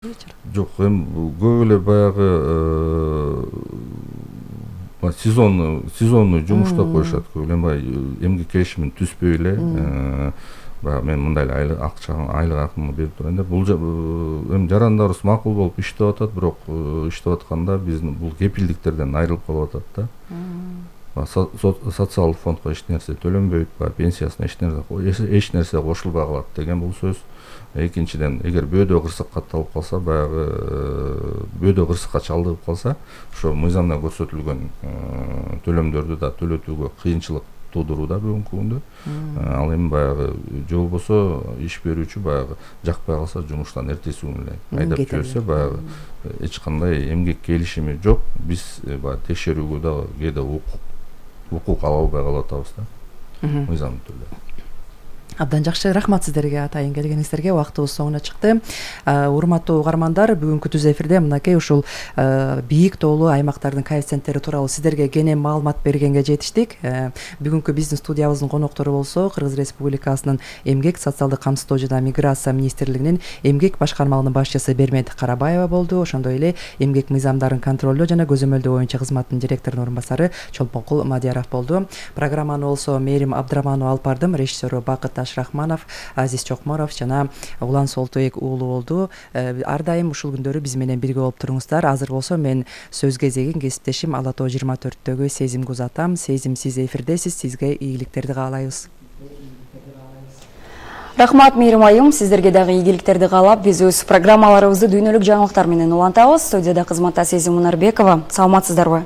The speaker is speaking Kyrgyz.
Жок, эми көп эле баягы сезонный жумуштап коюшат көп эле. Эми эмгек келишимин түзбөй эле баягы мен мындай эле айлык акымы берип турайын деп, бул эми жарандарыбыз макул болуп иштеп атат, бирок иштеп атканда биздин бул кепилдиктерден айрылып калып атат да. Социалдык фондко эч нерсе төлөнбөйт, пенсиясына эч нерсе кошулбай калат деген бул сөз. Экинчиден, эгер бөөдө кырсык катталып калса, баягы бөөдө кырсыкка чалдыгып калса, ошо мыйзамда көрсөтүлгөн төлөмдөрдү да төлөтүүгө кыйынчылык туудурууда бүгүнкү күндө. Ал эми баягы же болбосо иш берүүчү баягы жакпай калса жумуштан эртеси күнү эле айдап жиберсе, баягы эч кандай эмгек келишими жок. Биз баягы текшерүүгө да кээде укук ала албай калып атабыз да. Мыйзамдуу түрдө. Абдан жакшы, рахмат сиздерге атайын келгениңиздерге. Убактыбыз соңуна чыкты. Урматтуу угармандар, бүгүнкү түз эфирде мынакей ушул бийик тоолуу аймактардын коэффициенттери тууралуу сиздерге кенен маалымат бергенге жетиштик. Бүгүнкү биздин студиябыздын коноктору болсо Кыргыз Республикасынын Эмгек, социалдык камсыздоо жана миграция министрлигинин эмгек башкармалыгынын башчысы Бермет Карабаева болду. Ошондой эле эмгек мыйзамдарын контролдоо жана көзөмөлдөө боюнча кызматтын директорунун орун басары Чолпонкул Мадияров болду. Программаны болсо Мээрим Абдыраманова алып бардым, режиссеру Бакыт Рахманов, Азиз Чокморов жана Улан Солтоек уулу болду. Ар дайым ушул күндөрү биз менен бирге болуп туруңуздар. Азыр болсо мен сөз кезегин кесиптешим Ала Тоо 24-төгү Сезимге узатам. Сезим, сиз эфирдесиз. Сизге ийгиликтерди каалайбыз. Рахмат, Мээрим айым. Сиздерге дагы ийгиликтерди каалап, биз өз программаларыбызды дүйнөлүк жаңылыктар менен улантабыз. Студияда кызматта Сезим Мунарбекова. Саламатсыздарбы?